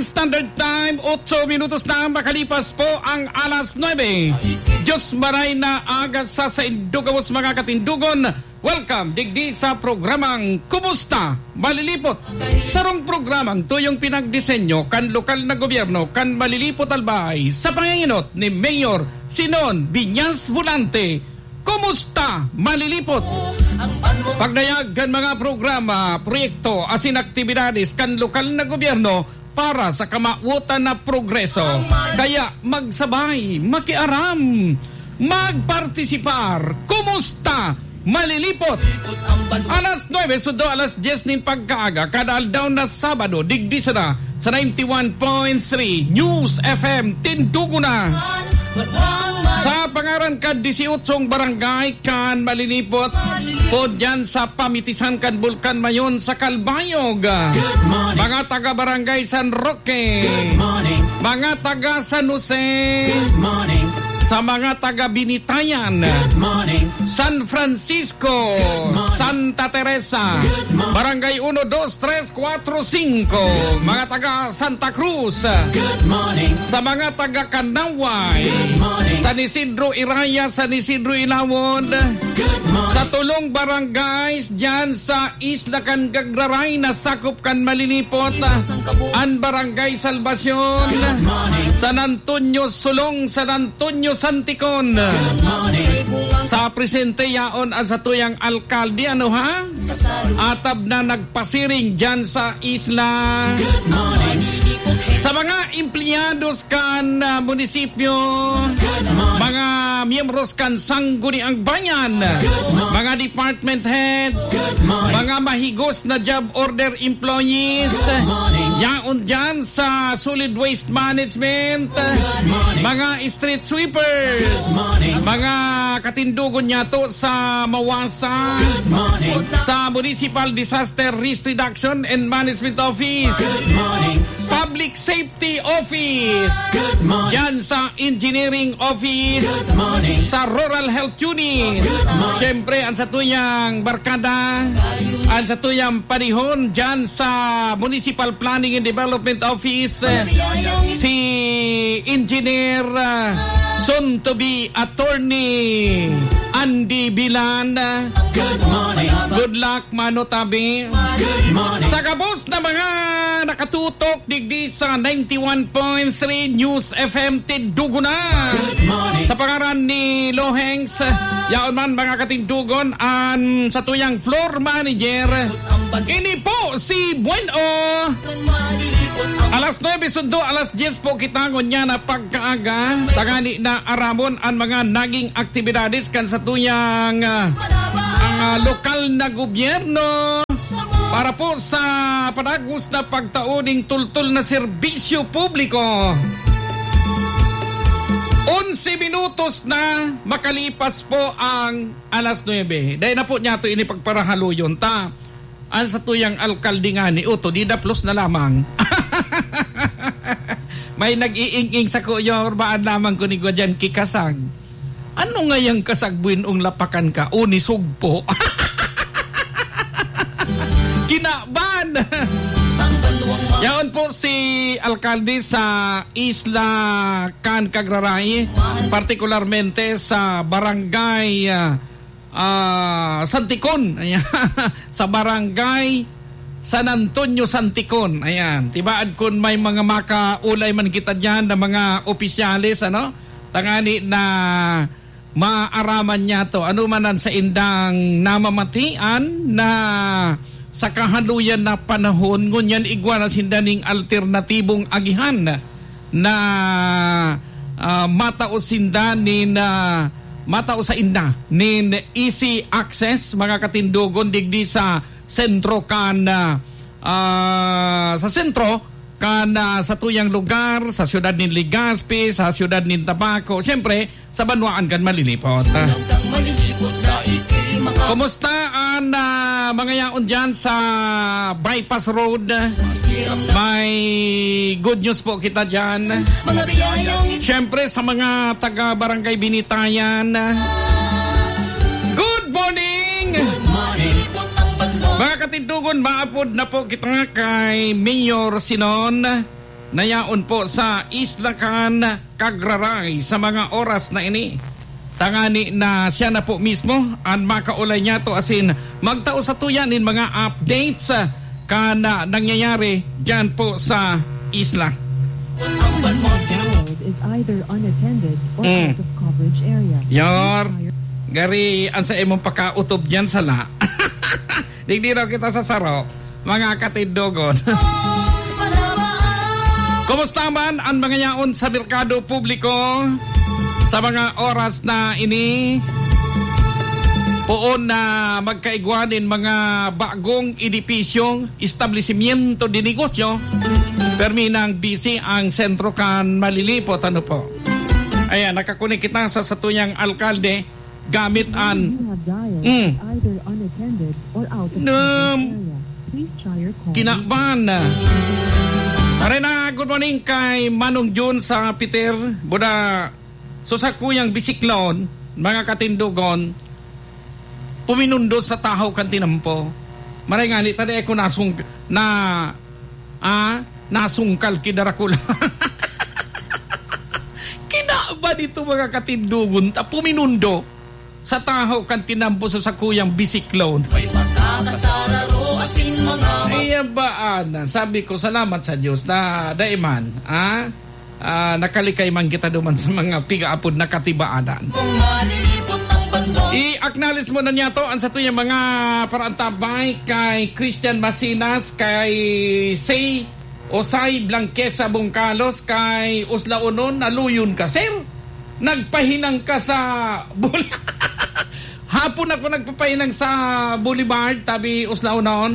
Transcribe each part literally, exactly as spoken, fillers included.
Standard Time, otso minutos na makalipas po ang alas nuebe. Diyos maray na aga sa saindo gabos, mga katindugon. Welcome digdi sa programang Kumusta Malilipot? Sarong programang tuyong pinagdisenyo kan lokal na gobyerno kan Malilipot, Albay, sa pangenot ni Mayor Sinon Viñas Volante. Kumusta Malilipot? Pagdayag kan mga programa, proyekto asin aktibidades kan lokal na gobyerno para sa kamawotan na progreso. Kaya magsabay, makiaram, magpartisipar. Kumusta Malilipot? Alas nuebe sundo alas dyes nin pagkaaga, kada aldaw na Sabado, digdi sana sa ninety-one point three News F M Tindugo na. Sa pangaran kan disiyotsong barangay kan Malilipot, po dyan sa pamitisan kan Bulkan Mayon sa Calbayog. Mga taga Barangay San Roque. Mga taga San Jose. Sa mga taga Binitayan. San Francisco. Santa Teresa. Barangay uno, dos, tres, kwatro, singko. Mga taga Santa Cruz. Sa mga taga Canaway. San Isidro Iraya, San Isidro Ilawod. Sa tulong barangays dyan sa isla kan Gagraray na sakop kan Malilipot, an Barangay Salvacion, San Antonio Sulong, San Antonio Santicon. Sa presente yaon an satuyang alkalde, ano ha? Atab na nagpasiring dyan sa isla. Sa mga empleyados kan, ah, munisipyo, mga miyembros kan Sangguniang Bayan, mga department heads, mga mahigos na job order employees, yaon dyan sa solid waste management, mga street sweepers, mga katindugon niyato sa Mawasa, sa Municipal Disaster Risk Reduction and Management Office, Public Safety Office, dyan sa Engineering Office, sa Rural Health Unit. Siyempre, ang satuyang barkada, ang satuyang panihon dyan sa Municipal Planning and Development Office, si Engineer, ah, soon to be Attorney Andy Bilan. Good luck, mano tabi. Sa gabos na mga nakatutok digdi sa ninety-one point three News F M Tindugo na. Sa pangaran ni Lohengs, yaon man, mga katindugon, an satuyang floor manager. Ini po si Bueno. Alas nuebe sundo, alas dyes po kita ngunyan na pagkaaga. Tangani na aramon an mga naging aktibidades kan satuyang, ah, ang, ah, lokal na gobyerno para po sa padagos na pagtao ning tultol na serbisyo publiko. Onse minutos na makalipas po ang alas nuebe. Dai na po niyato ini pagparahaluyon ta. An satuyang alkalde ngani, oto, di daplos na lamang. May nag-iing-ing sako, Yorba, an lamang ko ni Guadian ki Kasag. Ano ngayang Kasag, buenong lapakan ka? O, ni Sugpo. Kinaban! Yaon po si alkalde sa Isla Can Cagraray, partikularmente sa barangay, ah, ah, Santicon. Ayan. Sa barangay San Antonio Santicon. Ayan. Tibaad kun may mga makaulay man kita diyan na mga opisyales, ano? Tangani na maaraman niyato. Ano man ang saindang namamatian na sa kahaluyan na panahon, ngunyan igwa na sinda ning alternatibong agihan na, ah, matao sinda nin, ah, matao sainda nin easy access, mga katindogon, digdi sa sentro kan, ah, ah, sa sentro kan, ah, satuyang lugar, sa siyudad nin Legazpi, sa siyudad nin Tabaco. Siyempre, sa banwaan kan Malilipot. Kumusta an, ah, mga yaon diyan sa Bypass Road? May good news po kita diyan. Siyempre, sa mga taga Barangay Binitayan, good morning! Mga katindugon, maapod na po kita kay Mayor Sinon. na yaon po sa Isla kan Cagraray sa mga oras na ini. Tangani na siya na po mismo an makaulay niyato asin magtao sa tuya nin mga updates, ah, kan, ah, nangyayari diyan po sa isla. Ang banwang Download is either unattended or Mm. out of coverage area. Yar, gari, an sa imong pakautob diyan, sala. Digdi raw kita sa saro, mga katindogon. Kumusta man an mga yaon sa merkado publiko sa mga oras na ini? Poon na magkaigwa nin mga bagong edipisyong establisimyento de negosyo. Permi nang busy ang sentro kan malilipot, ano po? Ayan, nakakunik kita sa satuyang alkalde gamit an You have dialed Mm. is either unattended or out of Um, coverage area. Please try your call kinaban. Pare na, good morning kay Manong Jun sa Peter. Buda, so sa kuyang bisiklon, mga katindogon, puminundo sa tahaw kan tinampo. Maray nga ni, tada ako nasung-, na, ah, nasungkal ki Dracula. Kinaban ito, mga katindogon, ta puminundo sa tahaw kan tinampo sa sakuyang bisiklon. May pagkakasararo asin mga mag- Iya ba, ana? Sabi ko, salamat sa Diyos na dai man, ah, ah, nakalikay man kita duman sa mga pigaapod na katibaanan. Kung malilipot ang banwang I-acknowledge mo na niya to, ang sa tuyang mga parantabay kay Christian Masinas, kay Say Osay Blanquesa Bungkalos, kay Uslaonon, naluyon ka, sir? Nagpahinang ka sa Bul-, hapon ako nagpapahinang sa Boulevard, tabi Uslaonon.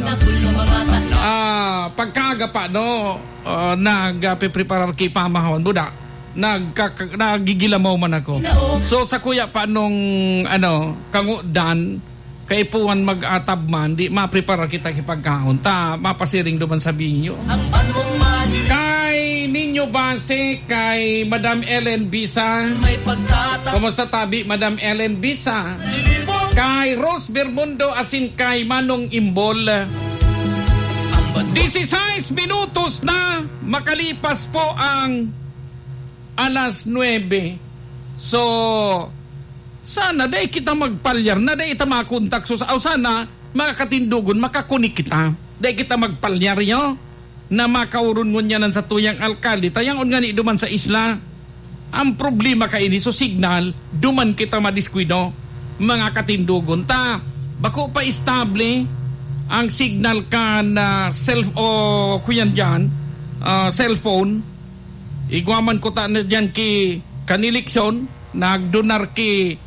Ah, pagkaaga pa, no? Ah, nagpipreparar ki pamahon, buda. Nagkaka-, nagigilamaw man ako. So, sa kuya pa nung, ano, kangudan, kaipuhan mag-atab man, di maprepara kita ki pagkaon. Ta, mapasiring duman sa binyo. Ang banwang mali. Kay Ninyo Base, kay Madam Ellen Bisa. May pagkata- Kumusta tabi, Madam Ellen Bisa? Kay Rose Bermundo, asin kay Manong Imbol. Ang banwang Disisais minutos na makalipas po ang alas nuebe. So, sana dai kita magpalyar na dai ta makontak. So, sa-, o sana, mga katindogon, makakonik kita. Dai kita magpalyar, yo, na makaoron ngunyan an satuyang alkalde. Ta yaon ngani duman sa isla. Ang problema kaini, so signal, duman kita madiskuido, mga katindogon. Ta, bako pa estable ang signal kan, ah, self-, o kuyan diyan, ah, cellphone. Igwa man ko ta na diyan ki, kan eleksyon, nagdonar ki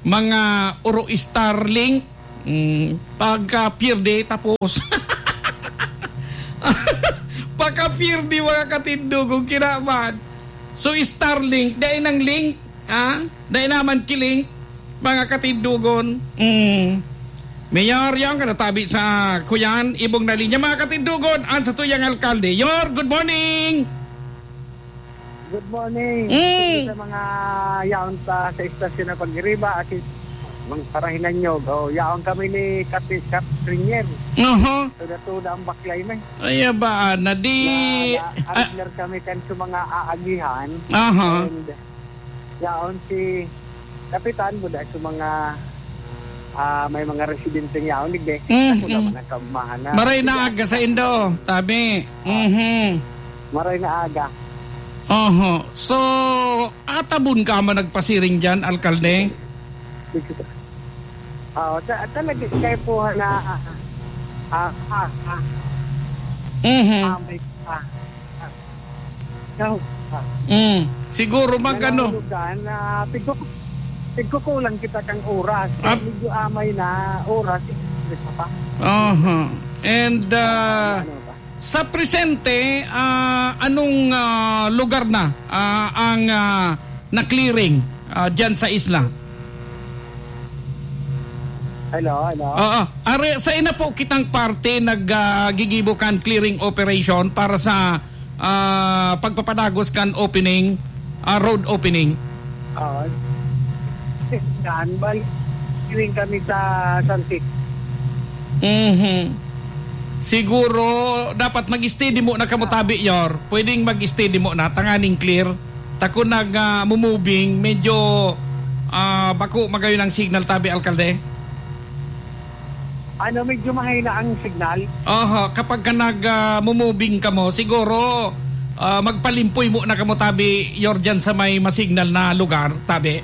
mga oro Starlink. Mm, pagka pierde, tapos. Pagka pierde, mga katindogon, kinaban. So, Starlink, dai nang link, ha? Dai naman ki link, mga katindogon. Mm. Mayor, yan, kanatabi sa kuyan, ibong na linya. Mga katindogon, an satuyang alkalde. Yor, good morning! Good morning. Mm. Sa mga yaon pa sa istasyon na pag-iriba, at mga parahinan nyo. Oh, yaon kami ni Kati-, Katrinier. Aha. Tuda-tuda ang baklay, may. Ay, ba, na di, Na, na, ah, Adler kami kan sa mga aagihan. Aha. And yaon si Kapitan, buda sa mga, ah, may mga residente yaon, digdi. Mhm. Ako naman ang kaugmahan na. Maray na aga sa indo, tabi. Ah. Mhm. Maray na aga. Oho. So, atabon ka man nagpasiring diyan, alkalde? Oo, ta-, talaga, kaya po na, ah, ah, ah, ah. Mhm. Ah, may, ah, ah. Ikaw, ah. Mm. Siguro mag-ano? Nanahulugan na pigko-, pigkukulang kita kang oras. Ah. Medyo amay na oras, isa pa. Aha. And, ah, Ano ba? Sa presente, ah, anong, ah, lugar na, ah, ang, ah, na-clearing, ah, dyan sa isla? Hello, hello. Oo. Are, sa ina po kitang parte nag, ah, gigibo kan clearing operation para sa, ah, pagpapadagos kan opening, ah, road opening. Oo. Saan? Bali, clearing kami sa Santik. Mhm. Siguro, dapat mag-steady muna kamo tabi, Yor. Pwedeng mag-steady muna, tanganing clear. Ta kun nag, ah, mumubing, medyo, ah, bako magayon ang signal tabi, alkalde. Ano, medyo mahina ang signal. Aha, kapag ka nag, ah, mumubing kamo, siguro, ah, magpalimpoy muna kamo tabi, Yor, dyan sa may masignal na lugar, tabi.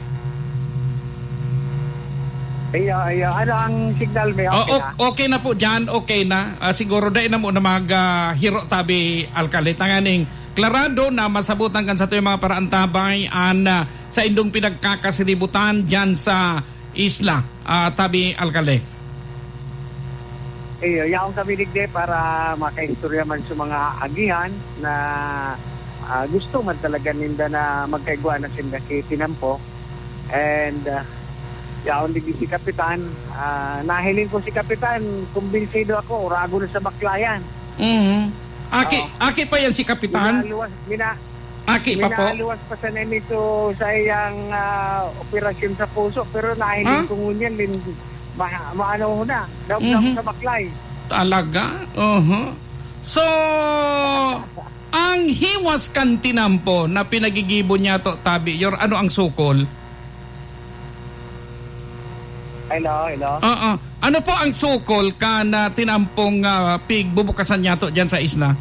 Iyo, iyo. Ano ang signal, may O-, okay o-, na? okay na po dyan, okay na. Ah, siguro dai na mo na mag, ah, hiro tabi, alkalde. Tanganing klarado na masabutan kan satuyang mga paraantabay an, ah, saindong pinagkakasiributan dyan sa isla, ah, tabi, alkalde. Iyo, yaon kami digdi para makaistorya man sa mga agihan na, ah, gusto man talaga ninda na magkaigwa na sinda ki Tinampo. And, ah, yaon digdi si Kapitan. Ah, nahiling ko si Kapitan, kumbinsido ako, urago na sa baklayan. Mhm. Aki, Oo. aki pa yan si Kapitan? Minaluwas, mina-, Aki pa po? minaluwas pa sana nito sa iyang, ah, operasyon sa puso, pero nahiling Ah? ko ngunyan, lin-, ma-, maano ho na, daog na Mhm. sa baklay. Talaga? Oho. So, ang hiwas kan Tinampo na pinagigibo niya to, tabi, Yor, ano ang sukol? Hello, hello. Oo. Ano po ang sukol kan, ah, Tinampong, ah, pigbubukasan niya to dyan sa isla?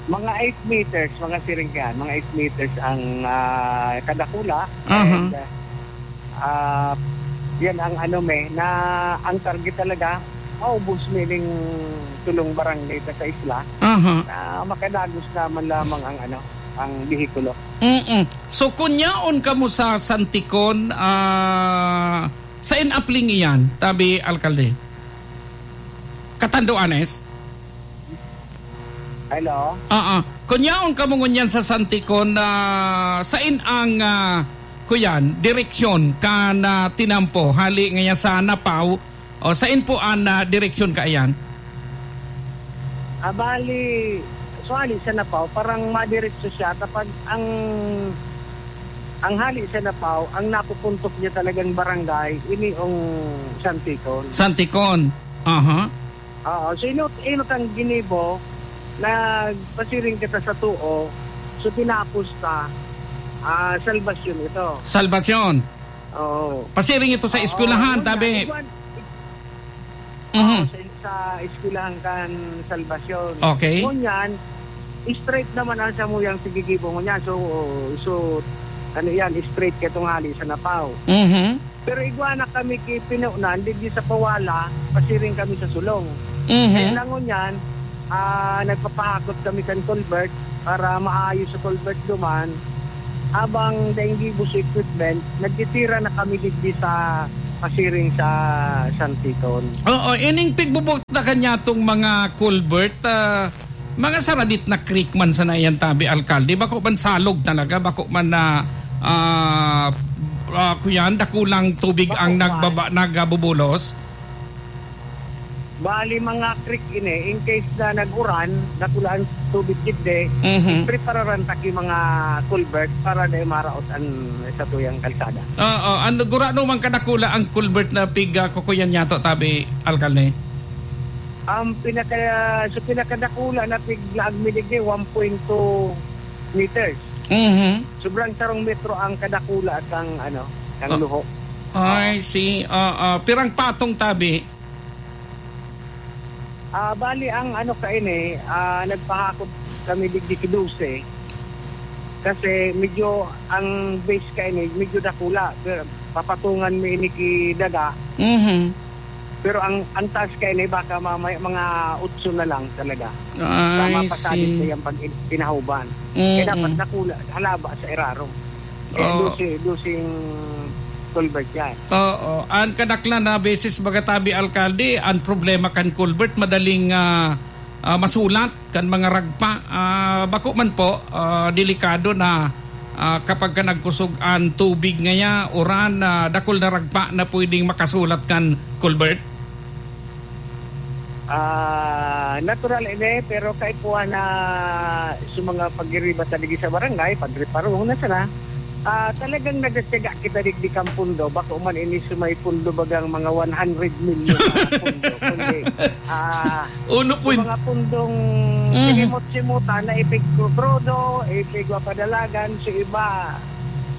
Mga eight meters, mga siring yan. Mga eight meters ang, ah, kadakula. Aha. And, ah, ah, yan ang ano, may, na ang target talaga, maubos, meaning tulong barangay ka sa isla, Aha. na makadagos naman lamang ang ano, ang behikulo. Mm-mm. So, kun yaon kamo sa Santikon, ah, sain apling iyan, tabi, alkalde? Catanduanes? Hello? Oo. Kun yaon kamo ngunyan sa Santikon, ah, sain ang, ah, kuyan, direksyon kan, ah, Tinampo? Hali ngaya sa Napaw, o sain po an, ah, direksyon kaiyan? Ah, bali, so, hali sa Napaw, parang madiretso siya kapag ang, ang hali sa Napaw, ang napupuntok niya talagang barangay, ini ang Santikon. Santikon. Aha. Oo, so inot-, inot ang ginibo, nagpasiring kita sa tuo, so tinapos ta, ah, Salvacion ito. Salvacion. Oo. Pasiring ito sa Oo, eskwelahan, yun tabi. nga. Iguan-, Mhm. oo, sa, sa eskwelahan kan Salvacion. Okay. Ngunyan, straight naman ang samuyang sigigibo ngunyan. So, so, ano yan, straight ka tungali sa Napaw. Mhm. Pero igwa na kami ki Pinonan, digdi sa Pawala, pasiring kami sa Sulong. Mhm. Kaya lang ngunyan, ah, nagpapahakot kami kan culvert para maayos sa culvert duman. Habang daing gibo sa equipment, nagtitira na kami digdi sa pasiring sa Santikon. Oo, ining pigbubuktakan niya tong mga culvert, ah, mga saradit na creek man sana yan, tabi, alkalde. Bako man salog talaga, bako man na, ah, ah, kuyan, dakulang tubig Bako ang man. nagbaba-, nagabubulos. Bali, mga creek ini, in case na nag-uran, dakula ang tubig digdi, Mhm. prepararan ta ki mga culvert para dai maraot an satuyang kalsada. Oo, ano, gurano man kadakula ang culvert na pig, ah, kukuyan niya to, tabi, alkalde? Ang pinaka-, sa pinakadakula na piglaag mi digdi, one point two meters. Mhm. Sobrang sarong metro ang kadakula at ang, ano, ang Oh. luho. I Oo. see. Ah, ah, pirang patong tabi? Ah, bali, ang ano kaini, ah, nagpahakot kami digdi ki dose. Kasi medyo ang base kaini, medyo dakula. Pero papatungan mi ini ki daga. Mhm. Pero ang, ang taas kaini baka mamaya mga otso na lang talaga. Sa I mapasalit see. na yang pag-, pinahuban. Kaya Mm-mm. dapat dakula, halaba sa irarom. Kaya Oo. dose, doseng culvert yan. Oo. Ang kadaklan na beses, baga tabi, alkalde, ang problema kan culvert, madaling, ah, ah, masulat kan mga ragpa. Ah, bako man po, ah, delikado na, ah, kapag ka nagkusog ang tubig ngaya, uran, ah, dakul na ragpa na pwedeng makasulat kan culvert. Ah, natural ini, pero kaipuhan na sa mga pagiriba ta digdi sa barangay, pagreparong na sana. Ah, talagang nagatyaga kita digdi kan pundo, bako man ini sa may pundo bagang mga one hundred million na pundo, kundi, ah, Uno sa point mga pundong Mhm. sinimot-simutan na ipigkukrodo, ipigwapadalagan, sa iba,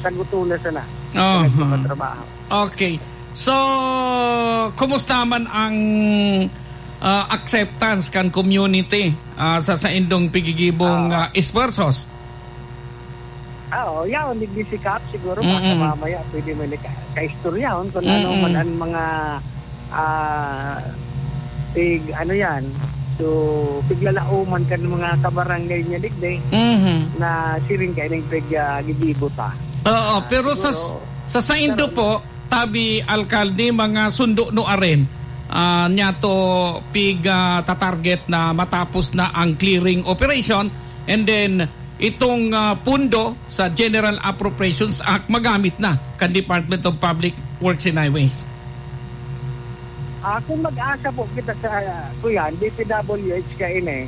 sa guto na sana. Aha. Sa nagpapatrabaho. Okay. So, kumusta man ang, ah, acceptance kan community, ah, sa saindong pigigibong, Ah. ah, esfuerzos? Ah, oo, yaon, digdi si Kap, siguro, Mm-mm. baka mamaya pwede mo ni ka-, kaistoryahon kung ano Mm-mm. man ang mga, ah, pig-, ano yan, so, piglalaoman kan mga kabarangay niya digdi Mhm. na siring kaining pig-, ah, gigibo ta. Oo, Ah, pero sa, siguro, sa saindo pero po, tabi, alkalde, mga sundo no aren, ah, niya to pig, ah, tatarget na matapos na ang clearing operation, and then itong, ah, pundo sa General Appropriations Act magamit na kan Department of Public Works and Highways? Ah, kung mag-asa po kita sa, kuyan, D P W H kaini,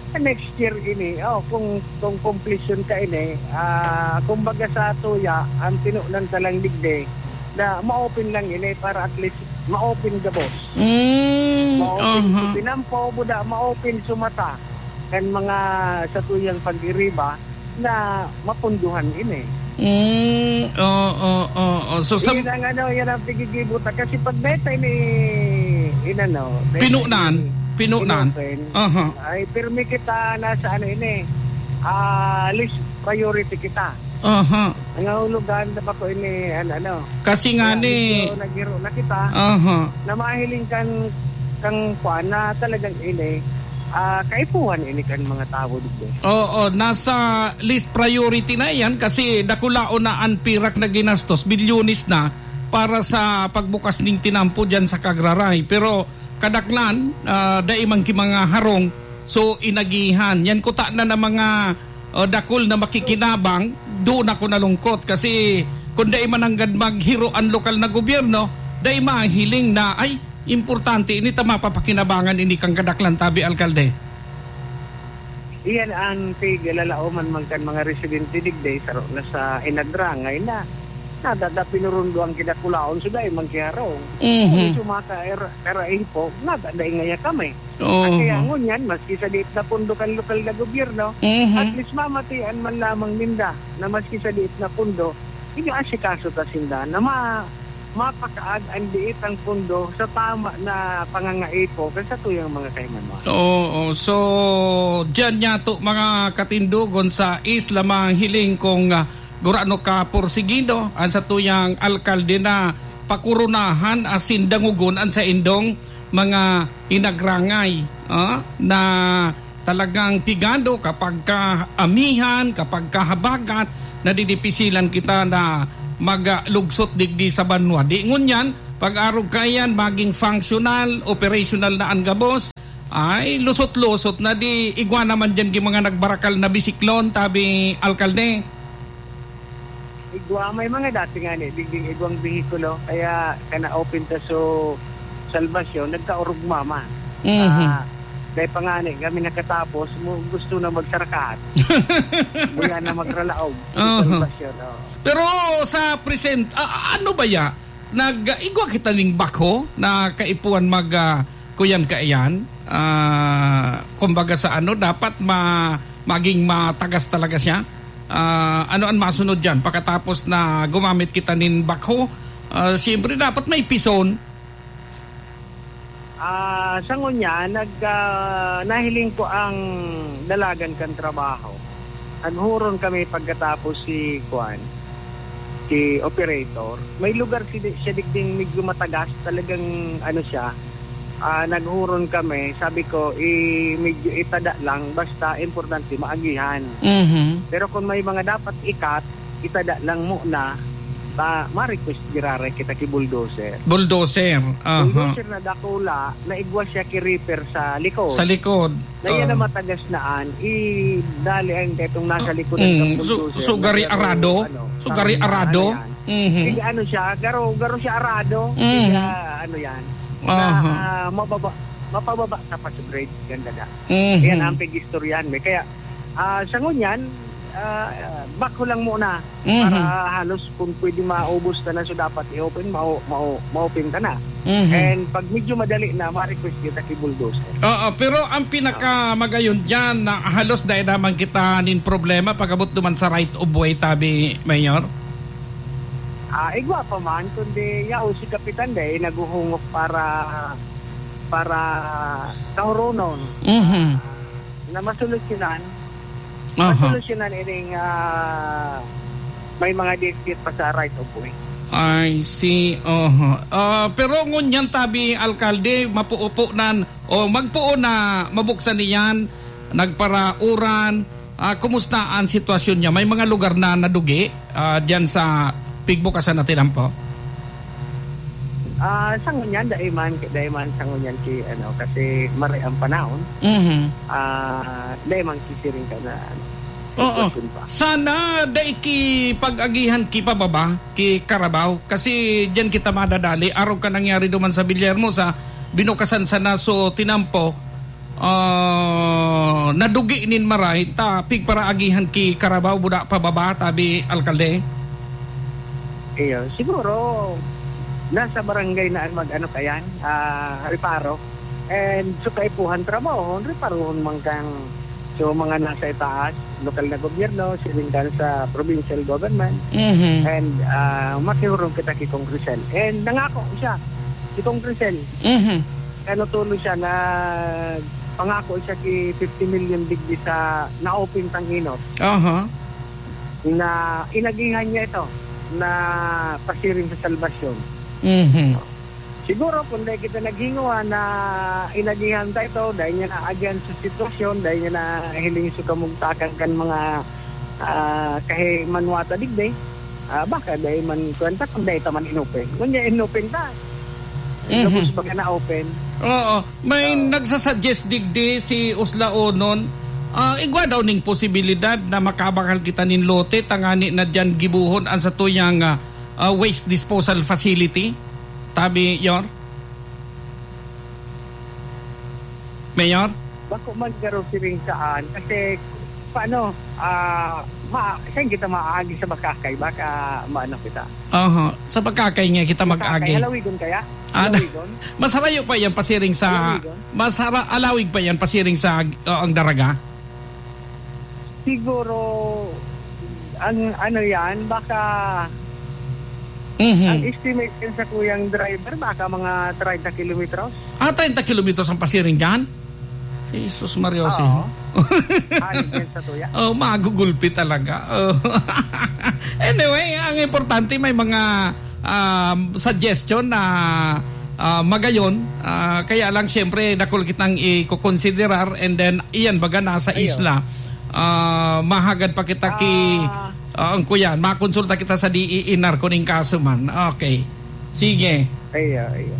sa next year ini, oh, kung, kung completion kaini, ah, kumbaga sa tuya, ang tinunan ta lang digdi, na ma-open lang ini para at least ma-open gabos. Mm, Ma-open aha. sa tinampo, buda, ma-open sa mata. Kan mga sa tuyang pag-iriba na mapunduhan ini. Mm, oo, oo. So, sa Yan ang ano, yan ang pigigibo ta. Kasi pag beta ini, inano, beta Pinunan, ini, pinunan. inopen, Aha. ay pirmi kita nasa ano ini, ah, list priority kita. Aha. Nangahulugan na ba ko ini, ano, ano. Kasi nga Kaya ni medyo naghiro na kita, Aha. na mahiling kan, kang kwan na talagang ini, ah, kaipuhan ini kan mga tawo digdi. Oo, nasa list priority na yan kasi dakulaon na an pirak na ginastos, bilyones na para sa pagbukas ning tinampo diyan sa Kagraray. Pero kadaklan, ah, dai man ki mga harong, so inagihan. Yan kuta na ng mga, ah, dakul na makikinabang, doon ako nalungkot kasi kung dai man nanggad maghiro an lokal na gobyerno, dai mahiling na, ay, importante, ini ta mapapakinabangan ini kang kadaklan, tabi, alkalde. Iyan ang tig-, lalaoman man kan mga residente digdi, saro na sa Inagrangay na nadada pinurundo ang kidakulaon, so dai man kiharong. Mhm. Kung sumaka er-, era ipo, nadada ingaya kami. Oo. Kaya ngunyan, maski sa diit na pundo kan lokal na gobyerno, Mhm. at least mamatian man lamang ninda na maski sa diit na pundo, inaasikaso ta sinda na ma-, mapakaag ang diit ang pundo sa tama na pangangaipo kan satuyang mga kaimaman. Oo. So, diyan niya to, mga katindogon sa isla, mahiling kung, ah, gurano ka porsigido ang satuyang alkalde na pakurunahan asin dangogon an saindong mga inagrangay, ah, na talagang pigado kapag kaamihan, kapag kahabagat, nadidipisilan kita na maglugsot digdi sa banwa. Di ngunyan, pag-arog kaiyan, maging functional, operational na an gabos, ay lusot-lusot na di igwa naman diyan ki mga nagbarakal na bisiklon, tabi, alkalde. Igwa, may mga dati nga ni, digding igwang behikulo, kaya kana open ta so salbasyon, nagkaurugma man. Mhm. Ah, dahil pa nga ni, kami nakatapos, mo, gusto na magsarakat. Buya na magralaog sa Aha. salbasyon, oh. Pero sa present, ah, ano ba ya? Nag-igwa kita ning bakho na kaipuhan mag, ah, kuyan kaiyan? Ah, kumbaga sa ano, dapat ma-, maging matagas talaga siya. Ah, ano ang masunod diyan pagkatapos na gumamit kita nin bakho? Ah, siyempre, dapat may pison. Ah, sa ngunyan, nag-, ah, nahiling ko ang dalagan kan trabaho. Naghuron kami pagkatapos si kuan, si operator. May lugar si, siya digding medyo matagas, talagang ano siya. Ah, naghuron kami, sabi ko, i-, medyo itada lang, basta importante maagihan. Mhm. Pero kung may mga dapat ikat, itada lang muna, ta, ma-request giraray kita ki bulldozer. Bulldozer, aha. Bulldozer na dakula, naigwa siya ki reaper sa likod. Sa likod, Na yan oo. ang matagas na an, i-, dali ang ketong nasa likod ng Mm, so, bulldozer so na gari garo, arado? ano, So, gari tawag na, arado? ano yan. Mhm. Sige, ano siya, garo, garo siya arado. Mhm. Sige, ano yan. Na, Aha. ah, mababa, mapababa sa pa sa grade, ganda na. Mhm. Yan ang pag-istoryahan, may. Kaya, ah, sa ngunyan, Ah, ah, backhoe lang muna. Mhm. Para halos kung pwede maubos na lang so dapat i-open, mau-, mau-, ma-open ka na. Mhm. And pag medyo madali na, ma-request kita ki bulldozer. Oo, pero ang pinakamagayon diyan na halos dai naman kita nin problema pag-abot duman sa right of way, tabi, Mayor? Ah, igwa pa man, kundi yaon si Kapitan dai naghuhungok para, para kahuronon. Mhm. Na masolusyonan, Aha. masolusyonan ining, ah, may mga dispute pa sa right of way. I see. Oho. Ah, pero ngunyan tabi, alkalde, mapuupo nan o magpuo na mabuksan niyan, nagparauran. Ah, kumusta ang sitwasyon niya? May mga lugar na nadugi, ah, diyan sa pigbukasan na tinampo? Ah, sa ngunyan, dai man, dai man sa ngunyan ki, ano, kasi maray ang panahon. Mhm. Ah, dai man kisiring ka na, ano, Oo. sitwasyon pa. Sana dai ki pag-agihan ki pababa, ki Carabao. Kasi diyan kita madadali. Arog ka nangyari duman sa Villahermosa, binukasan sana so tinampo, ah, nadugi nin maray, ta pigparaagihan ki Carabao, buda pababa, tabi, alkalde? Iyo, siguro, nasa barangay na an mag-ano kayan, ah, reparo. And so, kaipuhan trabaho, reparohon man kan, so, mga nasa itaas, lokal na gobyerno, siring kan sa provincial government. Mhm. And, ah, makihurong kita ki Kong Crisel. And nangako siya, si Kong Crisel. Mhm. Ano tulo siya na pangako siya ki fifty million digdi sa na-open tang inot. Aha. Na inagihan niya ito na pasiring sa salbasyon. Mhm. Siguro kung dai kita naghinguha na inagihan ta ito, dai niya naagihan sa sitwasyon, dai niya nahiling sa kamugtakan kan mga, ah, kahimanwa ta digdi, ah, baka dai man kwenta kung dai ta man inopen. Ngunyan inopen ta. Mhm. Gabos baga na open. Oo. May Oo. nagsasuggest digdi si Uslaonon, ah, igwa daw ning posibilidad na makabakal kita nin lote tangani na diyan gibuhon an satuyang, ah, ah, waste disposal facility. Tabi, Yor? Mayor? Bako man garo siring saan. Kasi, paano, ah, ma-, saan kita maaagi sa Bakakay? Baka maano kita. Aha. Sa Bakakay nga kita Bakakay, mag-agi. Halawigon kaya? Ah, na-, Halawigon? Masarayo pa yan pasiring sa, Halawigon? Masara-, alawig pa yan pasiring sa, uh, ang Daraga? Siguro, ang ano yan, baka, Mhm. ang estimate yan sa kuyang driver, baka mga treinta kilometros. Ah, treinta kilometros ang pasiring dyan? Jesus Maria Jose. Oo. Halos yan sa tuya. Oh, magugulpi talaga. Oh. Anyway, ang importante may mga, um, suggestion na, ah, magayon. Ah, kaya lang, siyempre, dakul kitang ikokonsiderar and then, iyan, baga nasa Ayun. isla. Ah, mahagad pa kita ki, Ah. ah, ang kuyan, makonsulta kita sa D E N R kung ning kaso man. Okay. Sige. Iyo, iyo.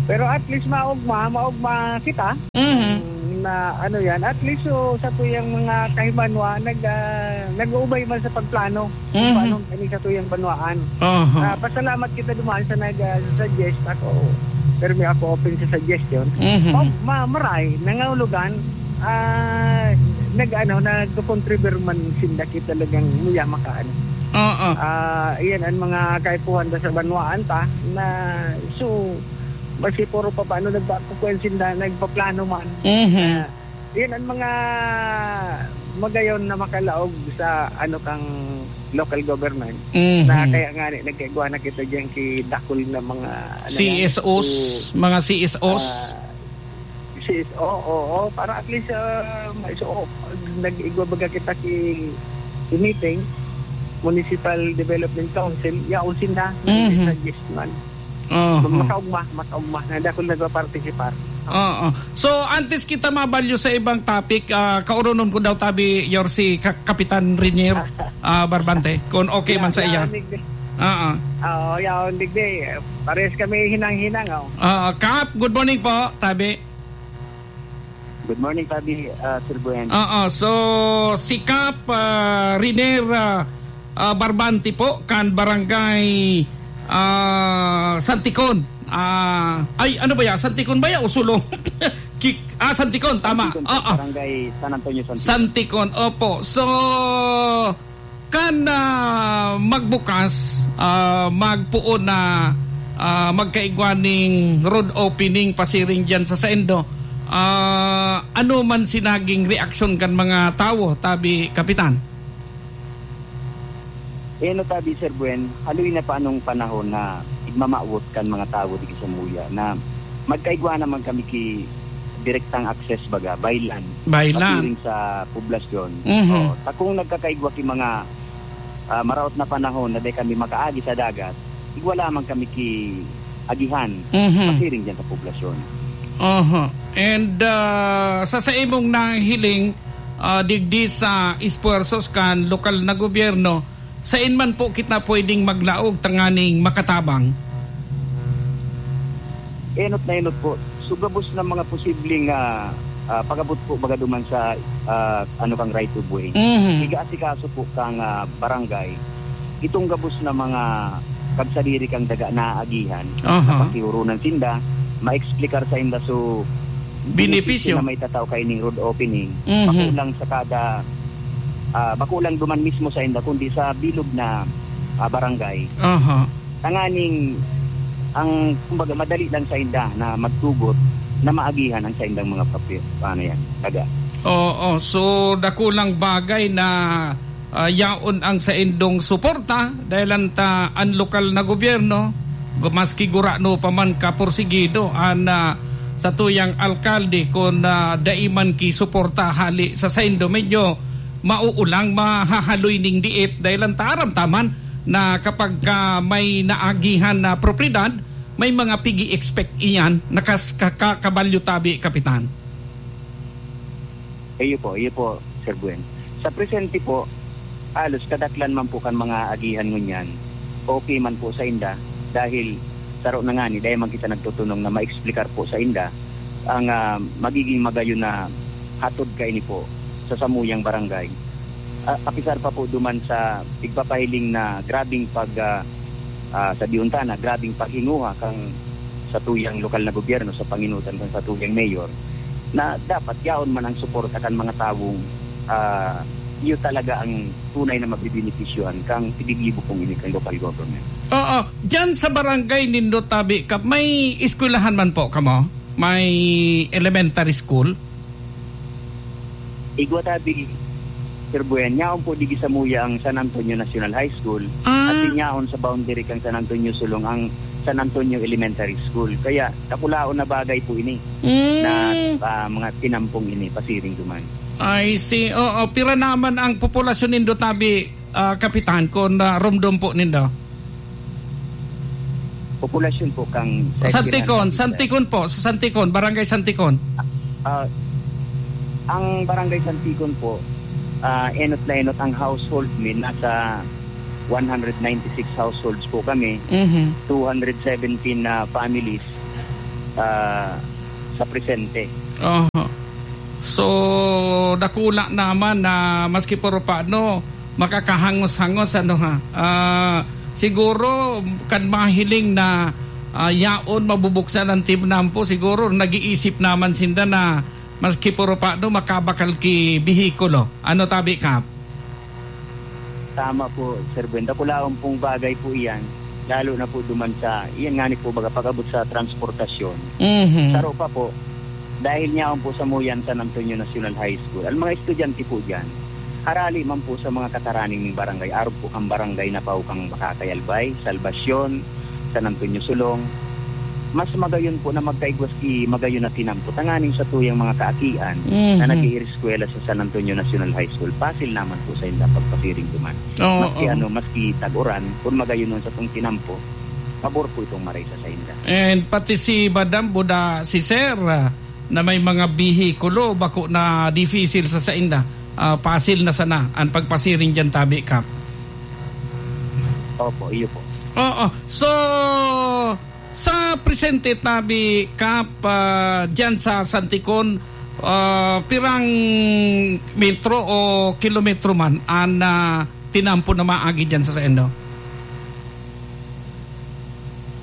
Pero at least maugma, maugma kita. Mhm. Na ano yan, at least, so, sa tuyang mga kahibanwa, nag, ah, nag-uubay man sa pagplano kung Mhm. paano kani sa tuyang banwaan. Aha. Ah, pasalamat kita duman sa nag, ah, suggest ako. Pero may ako open sa suggestion. Mhm. Oh, ma-, maray, nangahulugan, ah, nag, ano, nagko-contribute man sinda ki talagang muya makaano. Oo. Ah, iyan ang mga kaipuhan da sa banwaan ta na, so, basi puro pa paano nagpapakuan sinda, nagpaplano man. Mhm. Ah, iyan ang mga magayon na makalaog sa ano kang local government Mhm. na kaya nga ni nagkaigwa na kita diyan ki dakul na mga ano yan, C S Os, so, mga C S Os. ah, C S O, oo, para at least, ah, maiso-, nag-igwa baga kita ki, ki meeting, Municipal Development Council, yaon sinda, Mhm. suggest man. Oho. Makaugma, makaugma, na dakul nagpa-participar. Oo. So, antes kita mabalyo sa ibang topic, ah, kauronon ko daw tabi, Yorsi, Ka-, Kapitan Rinier, ah, Barbante, kung okay man sa Ya-, iya. yaon, digdi. Oo. Oo, yaon, digdi. Parehas kami hinang-hinang, oh. Ah, Kap, good morning po, tabi. Good morning, Tabi, ah, Sir Buen. Oo, so si Kap, ah, Riner, ah, ah, Barbante po, kan barangay, ah, Santikon. Ah, ay, ano ba yan? Santikon ba yan o Sulo? Tik-, ah, Santikon, tama. Santikon po, Oo. Barangay San Antonio, Santikon. Santikon, opo. So, kan, ah, magbukas, ah, magpoon na, ah, magkaigwa ning road opening pasiring diyan sa saindo, ah, ano man si naging reaksyon kan mga tawo, tabi, Kapitan? Eno tabi, Sir Buen, haloy na pa anong panahon na igmamawot kan mga tawo digdi sa Muya na magkaigwa naman kami ki direktang access, baga, by land. By land. Pasiring sa poblasyon. Mhm. Oo. Ta kung nagkakaigwa ki mga, ah, maraot na panahon na dai kami makaagi sa dagat, igwa lamang kami ki agihan, Mhm. pasiring diyan sa poblasyon. Aha. And, ah, sa, sa imong nahiling, ah, digdi sa esfuerzos kan lokal na gobyerno, sain man po kita pwedeng maglaog tanganing makatabang? Enot na enot po. So, gabos na mga posibleng, ah, ah, pag-abot po baga duman sa, ah, ano, kang right of way. Mhm. Iga-asikaso po kang, ah, barangay. Itong gabos na mga pagsadiri kang daga na agihan, Aha. na pakiurunan sinda, ma-explicar sa inda. So, Benepisyo. benepisyo na may tataw kaining road opening. Mhm. Makulang sa kada, ah, makulang duman mismo sa inda, kundi sa bilog na, ah, barangay. Aha. Tanganing ang, kumbaga, madali lang sa inda na magtugot na maagihan ang saindang mga papi-, ano yan, daga. Oo, so dakulang bagay na, ah, yaon ang saindong suporta, dahil anta an lokal na gobyerno, gu-, maski gurano pa man kaporsigido an, ah, satuyang alkalde, kun, ah, dai man ki suporta hali sa saindo, medyo mauulang mahahaloy ning diit, dahil anta aram ta man na kapag ka may naagihan na propiedad, may mga pigi-expect iyan na kas-, ka-, ka-, kabalyo tabi, Kapitan. Iyo po, iyo po, Sir Buen. Sa presente po, halos kadaklan man po kan mga agihan ngunyan, okay man po sa inda, dahil saro na ngani, dai man kita nagtutunong na ma-explicar po sa inda ang, ah, magiging magayon na hatod kaini po sa samuyang barangay. Ah, apisar pa po duman sa igpapahiling na grabing pag, ah, ah, sa diunta na grabing paghinguha kang satuyang lokal na gobyerno sa panginutan kan satuyang mayor, na dapat yaon man ang suporta kan mga tawong, ah, iyo talaga ang tunay na mabibenepisyohan kang tigigibo pong ini kan local government. Oo. Diyan sa barangay nindo, tabi, Kap, may eskwelahan man po kamo? May elementary school? Igwa tabi, Sir Buen, yaon po digi sa Muya ang San Antonio National High School, Ah. at yaon sa boundary kan San Antonio Sulong ang San Antonio Elementary School. Kaya, dakulaon na bagay po ini Mm. na, ah, mga tinampong ini, pasiring duman. I see. Oo, pira naman ang populasyon nindo, tabi, ah, Kapitan, kun, ah, rumdom po nindo? Populasyon po kang sa Santikon, Espirihan, Santikon po, sa Santikon, Barangay Santikon. Ah, ang Barangay Santikon po, ah, enot na enot ang household mi, nasa one hundred ninety-six households po kami, Mhm. two hundred seventeen na families, ah, sa presente. Oho. So, dakula naman na maski puro paano, makakahangos-hangos, ano ha. Ah, siguro, kan mahiling na, ah, yaon mabubuksan ang Team Nampo, siguro nag-iisip naman sinda na maski puro paano, makabakal ki behikulo. Ano tabi, Kap? Tama po, Sir Buen. Dakulaon pong bagay po iyan, lalo na po duman sa, iyan nga ni po, baga, pag-abot sa transportasyon. Mhm. Saro pa po, dahil niyaon po sa Muyan San Antonio National High School, ang mga estudyante po diyan, harali man po sa mga kataraning ning barangay, arog po kang barangay na pao kang Bakakay Albay, Salvacion, San Antonio Sulong, mas magayon po na magkaigwas ki magayon na tinampo tanganing sa tuyang mga kaakian Mhm. na nag-iiriskwela sa San Antonio National High School. Pasil naman po sa inda pagpasiring duman. Oo, Maski oo. ano, maski tag-uran, kung magayon nun sa tong tinampo, pabor po itong maray sa sainda. And pati si Madam Buda, si Sir, ah, na may mga bihikulo, bako na difisil sa sainda. Ah, pasil na sana ang pagpasiring diyan, tabi, Kap. Opo, iyo po. Oo. So, sa presente, tabi, Kap, ah, diyan sa Santikon, ah, pirang metro o kilometro man ang, ah, tinampo na maagi diyan sa saindo?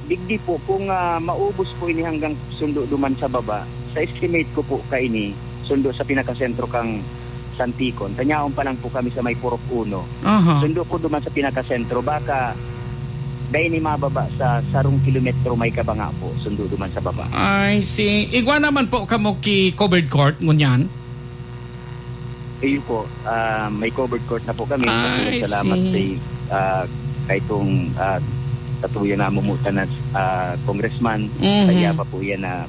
Digdi po, kung, ah, maubos po ini hanggang sundo duman sa baba, Sa estimate ko po kaini, sundo sa pinakasentro kan Santikon. Tanyaon pa lang po kami sa may Purok Uno. Aha. Sundo po duman sa pinakasentro, baka dai ni mababa sa sarong kilometro may kabanga po, sundo duman sa baba. I see. Igwa naman po kamo ki covered court, ngunyan? Iyo po, ah, may covered court na po kami. I Salamat see. sa, ah, kay itong, ah, katuya na mumutan na, ah, congressman. Mhm. Kaya pa po yan na,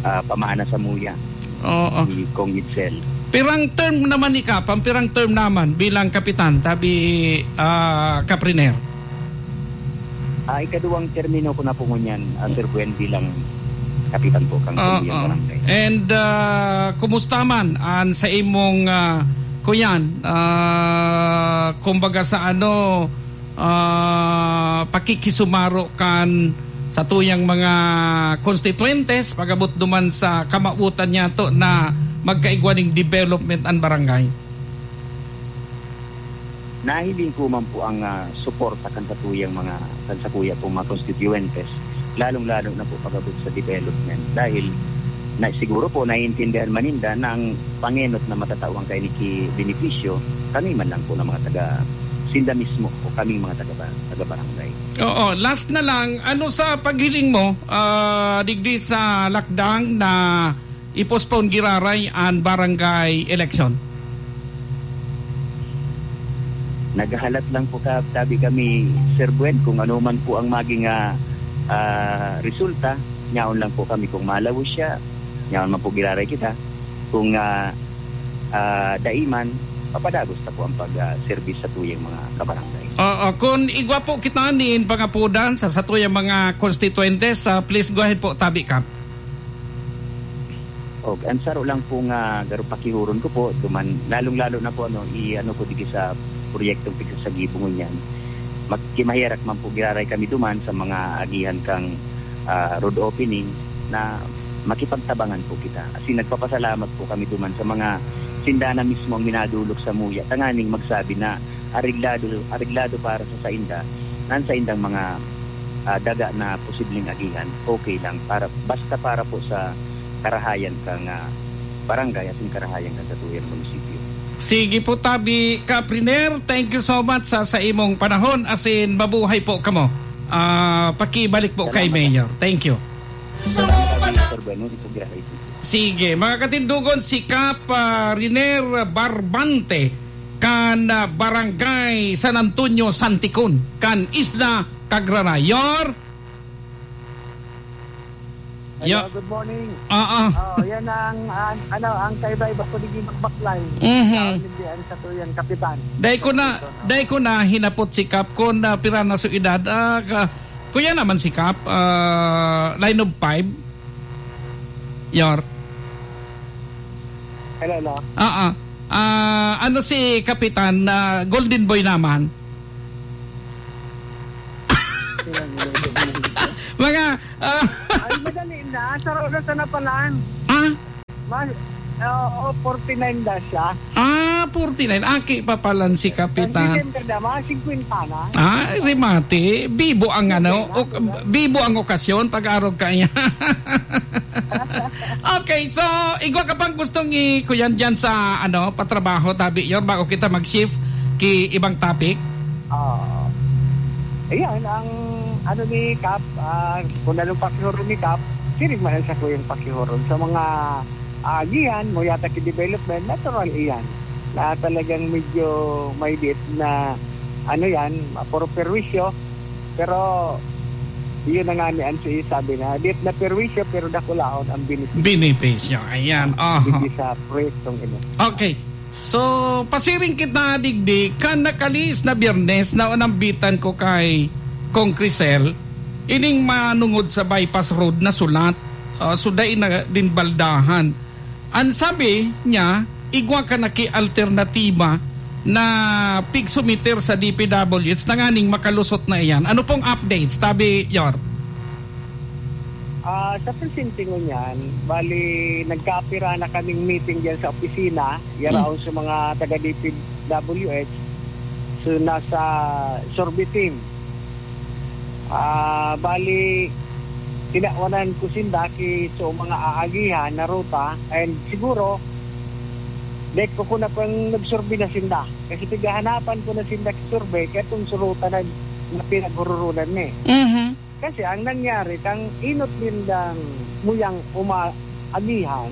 ah, pamaana sa muya Oo. ni Kong Edsel. Pirang term naman ni Kap? Ang pirang term naman bilang kapitan, tabi, ah, Kapriner? Ah, ikaduwang termino ko na po ngunyan, ah, Sir Gwen, bilang kapitan po kang Ah, Pamilya ah. Barangay. And, ah, kumusta man an sa imong, ah, kuyan, ah, kumbaga sa ano, ah, pakikisumaro kan sa tuyang mga konstituyentes, pag-abot duman sa kamawotan niyato na magkaigwa ning development an barangay? Nahiling ko man po ang, ah, suporta kan satuyang mga, kan sakuya pong mga konstituyentes, lalong-lalo na po pag-abot sa development. Dahil na, siguro po naiintindihan man ninda na ang pangenot na matatawan kaini ki benepisyo, kami man lang po ng mga taga, sinda mismo o kaming mga taga, taga-barangay. Oo, last na lang, ano sa paghiling mo, ah, digdi sa lakdang na i-postpone giraray an barangay election? Naghahalat lang po ka, tabi kami, Sir Gwen, kung ano man po ang maging, ah, ah, resulta, nyaon lang po kami kung malawos siya, nyaon man po giraray kita. Kung, ah, ah, dai man, papadagos ta po ang pag, ah, serbis sa tuyang mga kabarangay. Oo, kung igwa po kita nin pangapodan sa satuyang mga konstituyentes, ah, please go ahead po, tabi ka. Og, ang saro lang po nga garo pakihuron ko po, duman, lalong-lalo na po, ano, i-ano ko digi sa proyektong pigsasagibo ngunyan. Mag-, kimaherak man po, giraray kami duman sa mga agihan kang, ah, road opening na makipagtabangan po kita. As in, nagpapasalamat po kami duman sa mga sindana mismo ang minadulog sa muya, tanganing magsabi na areglado, areglado para sa sainda, na ang saindang mga, ah, daga na posibleng agihan, okay lang. Para, basta para po sa karahayan kang, ah, barangay asin karahayan kan satuyang munisipyo. Sige po, tabi Kapriner, thank you so much sa, sa imong panahon, asin mabuhay po kamo. Ah, pakibalik po kay Salamat. Mayor. Thank you. Salamat, Sir Gwen. Ito, grabe. Sige, mga katindogon, si Kap, ah, Riner Barbante, kan, ah, Barangay San Antonio, Santicon, kan Isla Cagraray. Yor? Hello, Yo- good morning. Oo. Oh, yan ang, an-, ano, ang kaiba-iba ko, di bakbaklay. Mhm. Sa Olimpian sa tuyang kapitan. Dai ko na, Ito, no? dai ko na hinapot si Kap kung, ah, pira na su edad. Ah, ka-, kuya naman si Kap, ah, line of five. Yor. Hello, hello. Ah, ah. Ah, ano si Kapitan, ah, Golden Boy naman? Mga, ah, Ay, madali na. Saro na sana palan. Ah? Mas, oo, forty-nine na siya. Ah, forty-nine. Aki pa palan si Kapitan. Ang December na, mga fifty na. Ah, remate. Bibo ang ano, Okay na, ok-, diba? bibo ang okasyon, pag-arog ka niya. Okay, so, igwa ka pang gustong i-, kuyan dyan sa, ano, patrabaho, tabi, Yor, bago kita mag-shift ki ibang topic? Ah, ayan, ang ano ni Kap, ah, kung anong pakihoron ni Kap, siring man ang sakuyang pakihoron. Sa mga agihan, mo yata ki development, natural iyan. Na talagang medyo may diet na, ano yan, puro perwisyo. Pero, yun na nga ni Ansi sabi na, diet na perwisyo, pero dakulaon ang benepisyo. Benepisyo, ayan. Aha. Hindi sa proyektong ino. Okay. So, pasiring kita digdi, kan nakalihis na Biyernes, naunambitan ko kay Kong Crisel, ining manungod sa bypass road na sulat, ah, so dai na din baldahan. Ang sabi niya, igwa ka na ki alternatiba na pigsumiter sa D P W H tanganing makalusot na iyan. Ano pong updates, tabi, Yor? Ah, sa presente ngunyan, bali, nagkaapira na kaming meeting diyan sa opisina, Hmm. yaraon sa mga taga D P W H. So, nasa survey team. Ah, bali, tinawanan ko sinda ki so mga aagihan na ruta, and siguro, dahil ko, ko na pang nagsurvey na sinda. Kasi pighahanapan ko na sinda ki survey, kaya itong surutan na, na pinaghururunan ni. Mhm. Kasi ang nangyari, kang inot nindang muyang uma-, agihan,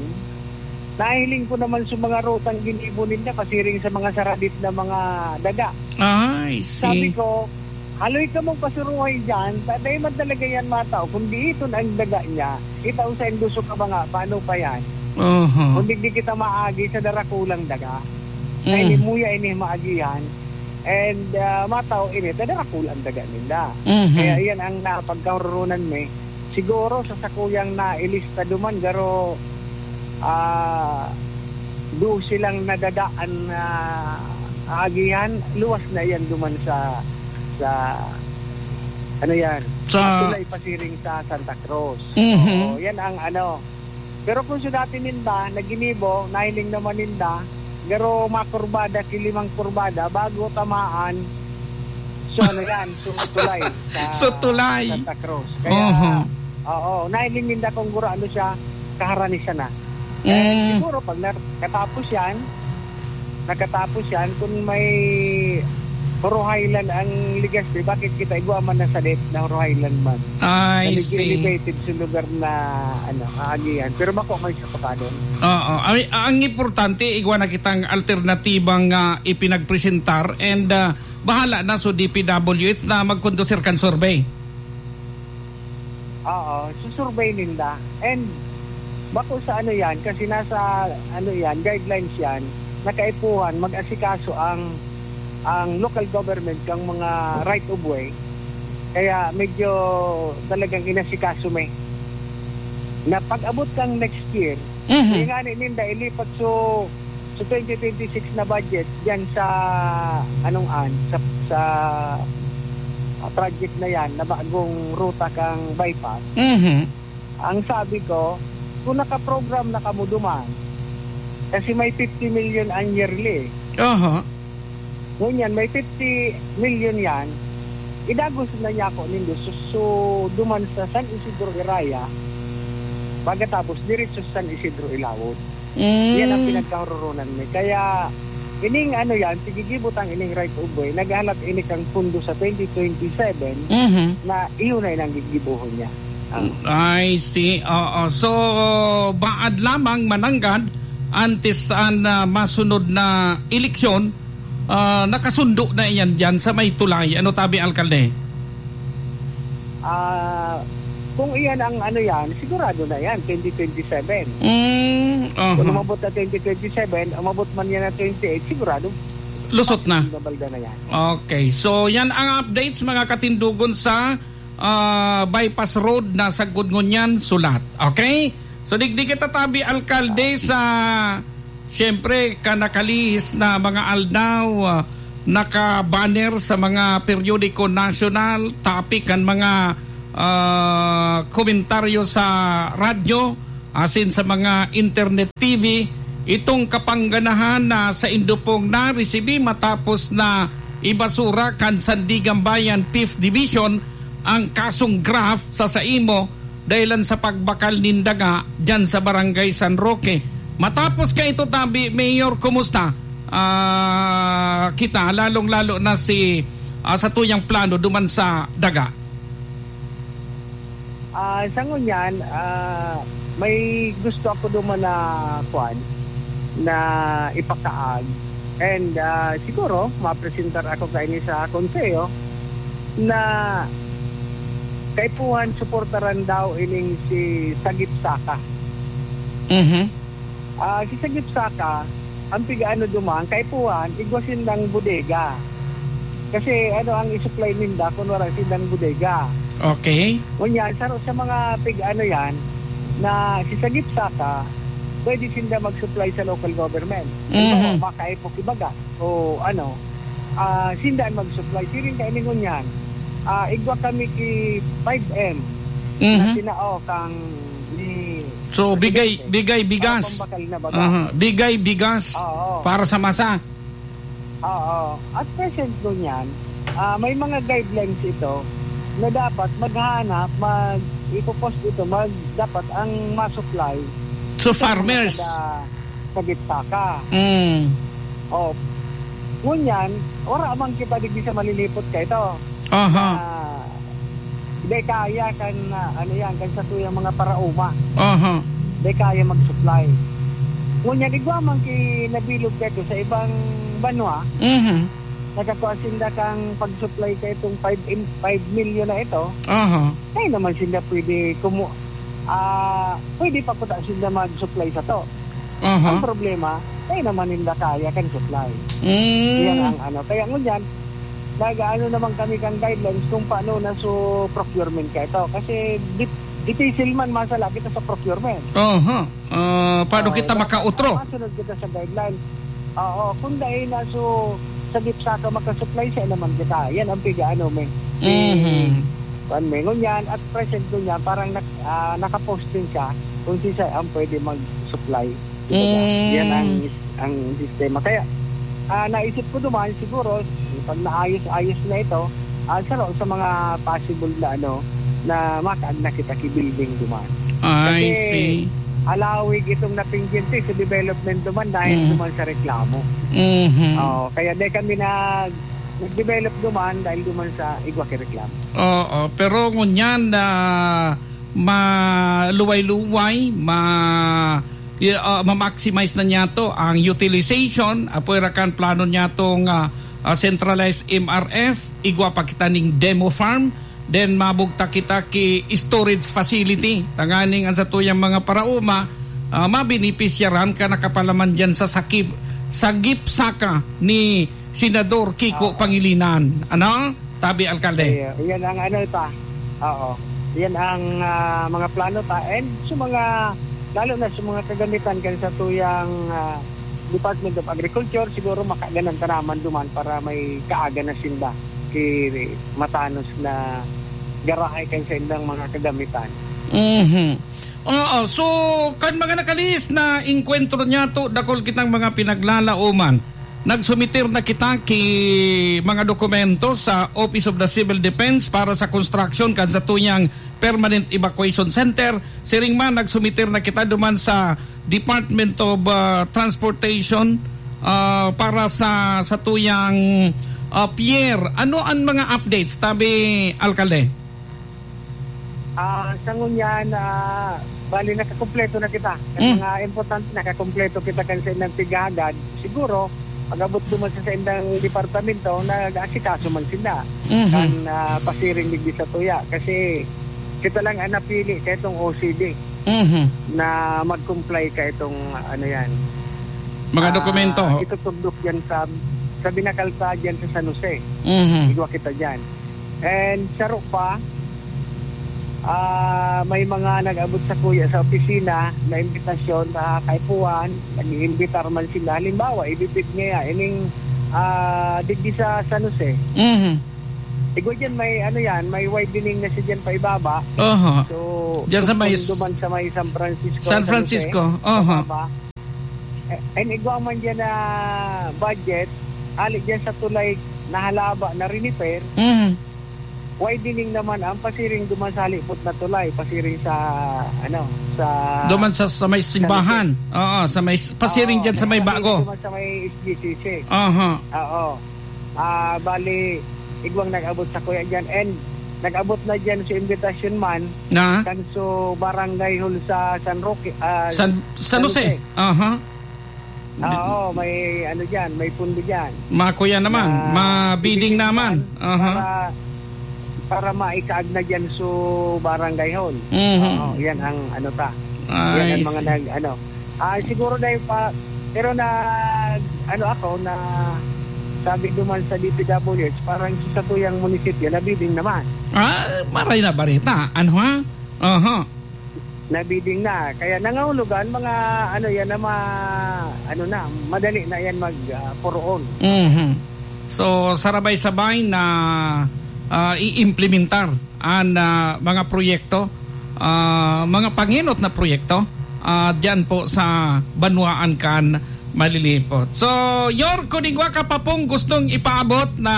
nahiling ko naman sa mga rutang ginibo ninda, pasiring sa mga saradit na mga daga. Ah, I see. Sabi ko, "Haloy ka mong pasuruhay dyan, ta-, dai man talaga yan matao. Kung di iton ang daga niya, kita sa induso ka ba nga, paano pa yan? Oho. Kung di, di kita maagi sa darakulang daga." Kaya Mm. ini muya ini maagihan, and, ah, matao ini, ta darakulang daga ninda. Mhm. Kaya iyan ang napagkahurunan mi. Siguro sa sakuyang nailista duman, garo, ah, dose lang nadadaan na aagihan, luwas na iyan duman sa, sa, ano yan, Sa sa tulay pasiring sa Santa Cruz. Mhm. Oo, yan ang ano. Pero kung sa dati ninda, naginibo, nahiling naman ninda, garo makurbada, ki limang kurbada, bago tamaan, so ano yan, so tulay sa Sa tulay. Santa Cruz. Kaya, Oho. oo, nahiling ninda kung guro ano siya, kaharani siya na. Eh, Mm. siguro pag nakatapos yan, nakatapos yan, kung may Horo Highland ang Legazpi, bakit kita igwa man na sa date na Horo Highland man? I Na medyo see. elevated sa lugar na, ano, aagihan. Pero bako may sa Pakanon. Oo. Ay, ang importante, igwa na kitang alternatibang, ah, ipinagpresentar and, ah, bahala na so D P W H na magkondusir kan survey. Oo, susurbey ninda. And bako sa ano yan, kasi nasa ano yan, guidelines yan, na kaipuhan, mag-asikaso ang, ang local government kang mga right of way. Kaya medyo talagang inasikaso mi. Na pag-abot kang next year, Mhm. yung nga ni ninda, ilipat so So, twenty twenty-six na budget diyan sa, anong an, sa, sa, ah, project na yan, na bagong ruta kang bypass. Mhm. Ang sabi ko, kung nakaprogram na kamo duman, kasi may fifty million ang yearly. Aha. Ngunyan, may fifty million yan, idagos na niya ako nindo. So, so, duman sa San Isidro Iraya, pagkatapos, diretso sa San Isidro Ilawod. Mm. Yan ang pinagkahururunan mi. Kaya, ining ano yan, sige, gibo tang ining right of way, naghalat ini kang pundo sa twenty twenty-seven Mhm. na iyon ay nang gigibohon niya. Ah. I see. Oo. So, baad lamang mananggad antes an, ah, masunod na eleksyon, ah, nakasundo na iyan diyan sa may tulay. Ano tabi, Alkalde? Ah, kung iyan ang ano yan, sigurado na yan, twenty twenty-seven. Mm, aha. Kung umabot na twenty twenty-seven, umabot man yan na twenty-eight, sigurado. Lusot na. Nabalda na yan. Okay. So, yan ang updates, mga katindugon, sa, ah, bypass road na sagkod ngunyan, sulat. Okay? So, digdi kita tabi, Alkalde, sa Siyempre, kan nakalihis na mga aldaw, ah, naka-banner sa mga periodiko nasyonal, topic kan mga, ah, komentaryo sa radyo, asin sa mga internet T V, itong kapangganahan na saindo pong naresibi matapos na ibasura kan Sandiganbayan Fifth Division ang kasong graft sa saimo dahilan sa pagbakal nin daga diyan sa Barangay San Roque. Matapos kaito tabi, Mayor, kumusta, ah, kita, lalong-lalo na si, ah, sa tuyang plano duman sa daga? Ah, sa ngunyan, ah, may gusto ako duman na, kwan, na ipakaag. And, ah, siguro, mapresentar ako kaini sa konseho na kaipuhan suportaran daw ining si Sagip Saka. Mhm. Ah, si Sagip Saka, ang pigaano duman, kaipuhan, igwa sindang bodega. Kasi ano ang isupply ninda kung wala sindang bodega? Okay. Ngunyan, sa, sa mga pigaano yan, na si Sagip Saka, pwede sinda mag-supply sa local government. Mhm. Halimbawa, makaipok ibaga. O ano, ah, sinda ang mag-supply. Siring kaini ngunyan. Ah, igwa kami ki five M na Mhm. tinao kang ni So, bigay, Presidente. bigay bigas. Para pambakal na baga. Aha, bigay bigas Oo. para sa masa. Oo. At present ngunyan, ah, may mga guidelines ito na dapat maghanap, mag-, ipopost ito, mag-, dapat ang ma-supply So, ito ang farmers. Kada, sa gitsaka. Mm. Oh. Ngunyan, wala man kita digdi sa Malilipot ka ito. Aha. Na, di kaya kan, ah, ano yan, kan satuyang mga paraoma. Aha. Di kaya mag-supply. Ngunyan, igwa man ki nabilog ka ito sa ibang banwa, Mhm. nakakua sinda kang pag-supply ka itong five in, five million na ito. Aha. Kaya naman sinda pwede kumu-, ah, pwede pa kuta sinda mag-supply sa to. Aha. Ang problema, kaya naman ninda kaya kan supply. Mm. Yan ang ano. Kaya ngunyan, nag-aano naman kami kang guidelines kung paano na so procurement ka ito. Kasi dip-, dipisil man masala kita sa procurement. Aha. Ah, paano Ah, kita dapat makautro? masunod kita sa guidelines. Oo, kung dahil na so, sa gipsa ka makasupply, siya naman kita. Yan ang piga-ano, may, Mhm. kuwan, may ngunyan, at present ko niya, parang nak-, ah, nakapost din siya kung si siya ang pwede mag-supply. Kumbaga, Mm. yan ang, ang sistema. Kaya, ah, naisip ko duman, siguro, pag naayos-ayos na ito, ah, sa, sa mga possible na, ano, na makaagna kita ki building duman. I Kasi, see. alawig itong natinggi sa development duman dahil Mm. duman sa reklamo. Mhm. Oo, kaya di kami nag-, nag-develop duman dahil duman sa igwa ki reklamo. Oo, pero ngunyan na maluway-luway, ma-, i-, ah, ma-maximize na niya to ang utilization, apoy ra kan plano niya tong, ah, ah, centralized M R F, igwa pa kita ning demo farm, then mabugtak kita ki storage facility. Tanganing ang satuyang mga paraoma, ah, mabenepisyaran ka nakapalaman diyan sa sakip, sa gipsaka ni Senador Kiko Oo. Pangilinan. Ano? Tabi, Alkalde. Ay, uh, yan ang ano ta. Oo. Yan ang, ah, mga plano ta. And sa mga, lalo na sa mga kagamitan kan sa tuyang, ah, Department of Agriculture, siguro makaganan ta naman duman para may kaaga na sinda ki matanos na garahay kan sa indang mga kagamitan. Mhm. Oo. So, kan mga nakalihis na engkwentro niya to, dakul kitang mga pinaglalaoman. Nagsumiter na kita ki mga dokumento sa Office of the Civil Defense para sa construction kan satuyang permanent evacuation center. Siring man, nagsumiter na kita duman sa Department of, ah, Transportation, ah, para sa satuyang, ah, pier. Ano ang mga updates, tabi, Alkalde? Ah, sa ngunyan, ah, bali, nakakumpleto na kita. Kan Mm. mga importante, nakakumpleto kita kan sa indang pighahagad. Siguro, pag-abot duman sa, sa indang departamento, nag-aasikaso man sila. Mhm. Kan, ah, pasiring digdi sa tuya. Kasi kita lang ang napili ka itong O C D Mhm. na mag-comply ka itong, ano yan. Mga Ah, dokumento. Itutugdok yan sa, sa Binacal pa, dyan sa San Jose. Mhm. Igwa kita dyan. And saro pa, ah, may mga nag-abot sa kuya sa opisina na imbitasyon na kaipuhan, nag-iimbitar man sila. Halimbawa, ibibid niya ining, ah, digdi sa San Jose. Mhm. Igwa dyan, may ano yan, may widening na siya dyan pa ibaba. Aha. So, Dyan sa may tugtog duman sa may San Francisco, San San Jose, Francisco. Aha. pababa. Eh, and igwa man dyan na budget, ali dyan sa tulay na halaba na rinipair, Mhm. widening naman ang pasiring duman sa halipot na tulay, pasiring sa, ano, sa Duman sa, sa may sa simbahan. Oo, sa may, pasiring Oo, dyan sa may kaya bago. duman sa may S G C C. Aha. Oo. Ah, bali, igwang nag-abot sa kuya dyan. And nag-abot na dyan sa imbitasyon man, Na? kan sa barangay hall sa San Roque, ah, San, San San Jose. Jose. Aha. Oo, may ano dyan, may pundo dyan. Makuya naman, Na mabidding bibigyan naman. naman Aha. para, para maikaag na dyan sa barangay hall. Mhm. Oo, yan ang ano ta. Yan I ang mga see. nag-, ano. Ah, siguro dahil pa, pero na, ano ako, na sabi duman sa D P W H, parang sa tuyang munisipyo, nabidding naman. Ah, maray na bareta. Ano, ha? Aha. Nabidding na. Kaya nangahulugan, mga ano yan na ma-, ano na, madali na yan mag, ah, puroon. Mhm. So, sarabay-sabay na, ah, i-implementar an, ah, mga proyekto, ah, mga pangenot na proyekto, ah, diyan po sa banwaan kan Malilipot. So, York, kun igwa ka pa pong gustong ipaabot na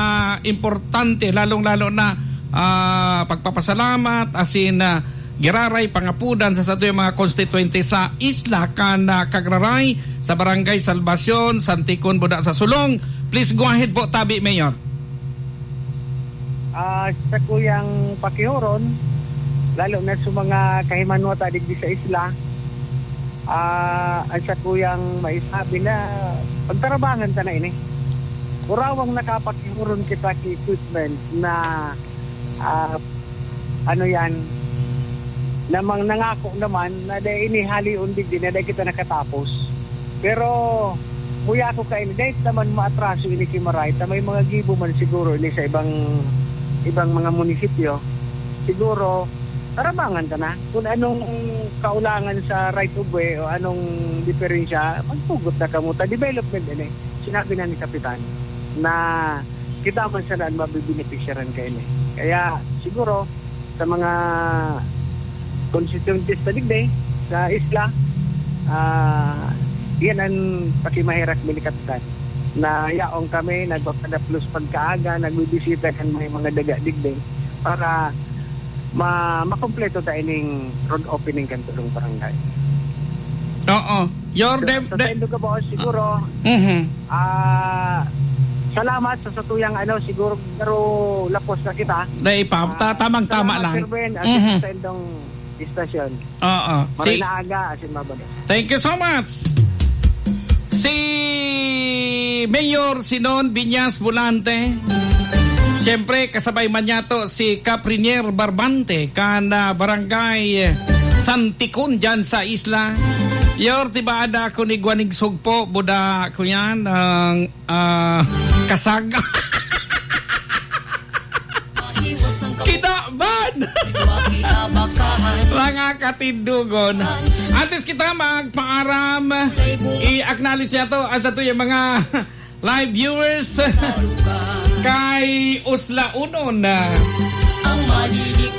importante, lalong-lalo na ah, pagpapasalamat, asin, ah, giraray pangapodan sa satuyang mga konstituyente sa isla kan, ah, Cagraray, sa Barangay Salvacion, Santikon, Buda sa Sulong. Please go ahead po, tabi, Mayor. Ah, sa kuyang pakihuron, lalo na sa mga kahimanwata digdi sa isla, ah, ang sa kuyang maisabi na pagtarabangan ta na ini. Kurawang nakapakihuron kita ki equipment na, ah, ano yan, namang nangako naman na dai ini halion digdi na dai kita nakatapos. Pero, muya ko kaini, dai naman maatraso ini ki Maray, ta may mga gibo man siguro ini sa ibang, ibang mga munisipyo. Siguro, tarabangan ta na kung anong kaulangan sa right of way o anong diferensya, magtugot na kamo ta. Development ini. Sinabi na ni Kapitan na kita man sana an mabibenepisyaran kaini. Kaya siguro sa mga constituentes na digdi sa isla, ah, yan ang pakimaherak mi ni Kapitan, na yaon kami nagpapadaplos pagkaaga, nagbibisita kan may mga daga digdi para ma-, makompleto ta ining road opening kan tulong barangay. Oo. Your So, dem-, sa de- saindo ka, boss, siguro, Mhm. ah, salamat sa satuyang, ano, siguro, pero lapos na kita. Dai pa, ta-, Ah, tamang-tama salamat, lang. Sir Ben, at Mhm. sa saindong istasyon. Oo. Maray Si- na aga, asin mabalik. Thank you so much. Si Mayor Sinon Viñas Volante. Siyempre, kasabay man niya to si Caprinier Barbante, kan, ah, Barangay Santikon dyan sa isla. Yor, tibaada ako ni Guanig Sugpo, buda ko yan, ang, ah, kasag. Kinaban! Mga katindogon. Antes kita magpaaram, i-acknowledge niya to, ang sa tuyang mga live viewers kay Uslaunon.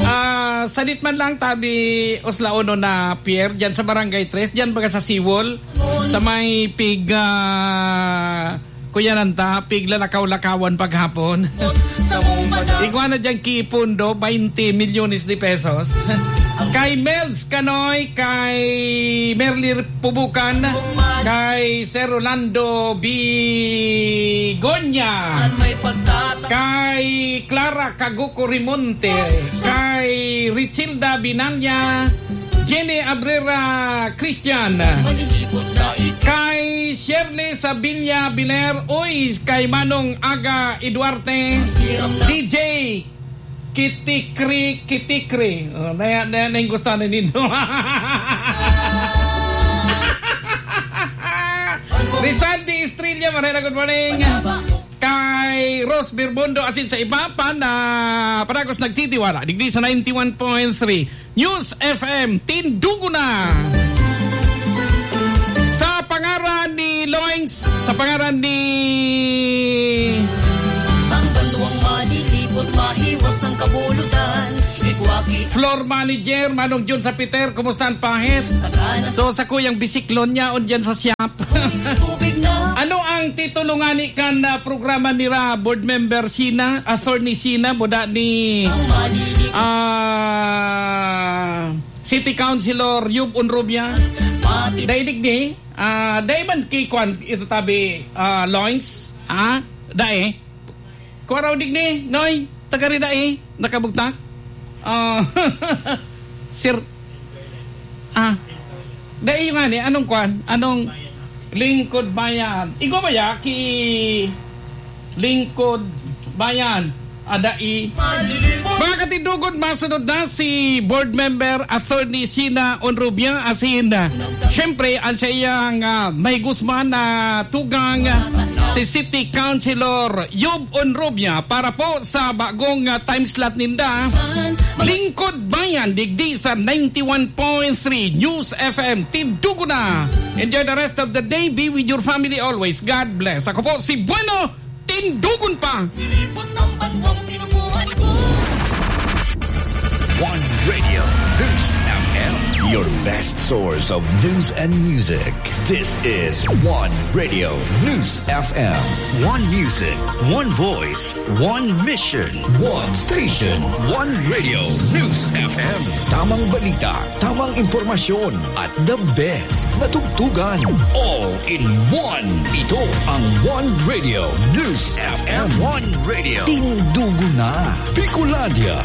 Ah, sadit man lang tabi Uslaunon na pier, dyan sa Barangay Tres, dyan baga sa Siwol, sa may pig, ah, Kuya Nanta, piglalakaw-lakawan paghapon. Igwa na dyan ki Pundo, twenty milyones de pesos. Kay Melz Canoy, kay Merly Pubukan, kay Sir Rolando Bigonya, kay Clara Caguco Rimonte, kay Richilda Binanya, Jenny Abrera Christian, kay Shirley Sabilla Biler, uy, kay Manong Aga Eduarte, D J Kitikri, Kitikri. Oh, na, na, na yung gusto na nito. Rizal de Estrella, Marena, good morning. Kay Rose Birmundo, asin sa iba pa na padagos nagtitiwala digdi sa ninety-one point three News F M, Tindugo na! Sa pangaran ni Loings, sa pangaran ni Ang banwang malilipot, mahiwas ang kabulutan. Igwaki Floor manager, Manong Jun sa Peter, kumusta ang pahit? Sa kanas- So, sa kuyang bisiklon niya, on dyan sa shop. Tubig na. Ano ang titulo ngani kan, ah, programa nira, Board Member Sina, Attorney Sina, buda ni, Ang malili- ah, City Councilor Yub Unrubia? Pati Dai digdi, ah, dai man ki kwan, ito tabi, ah, Loins, ah, dai. Kua raw digdi, Noy, taga Rida, eh, nakabugtak. Ah, sir, ah, dai yung ani, anong kwan? Anong Lingkod Bayan? Igwa ba ya ki Lingkod Bayan? Adai. Mga katindugon, masunod na si Board Member Attorney Sina Onrubia, asin, ah, siyempre, ang sa iyang, ah, may gusman na tugang, ah, si City Councilor Yub Onrubia para po sa bagong, ah, time slot ninda. Lingkod Bayan, digdi sa ninety-one point three News F M. Tindugo na. Enjoy the rest of the day. Be with your family always. God bless. Ako po si Bueno. Tindugon pa. One Radio, News F M. Your best source of news and music. This is One Radio News F M. One music, one voice, one mission. One station, One Radio News F M. Tamang balita, tamang impormasyon, at the best na tugtugan. All in one. Ito ang One Radio News F M. One Radio. Tindugo na. Bicolandia.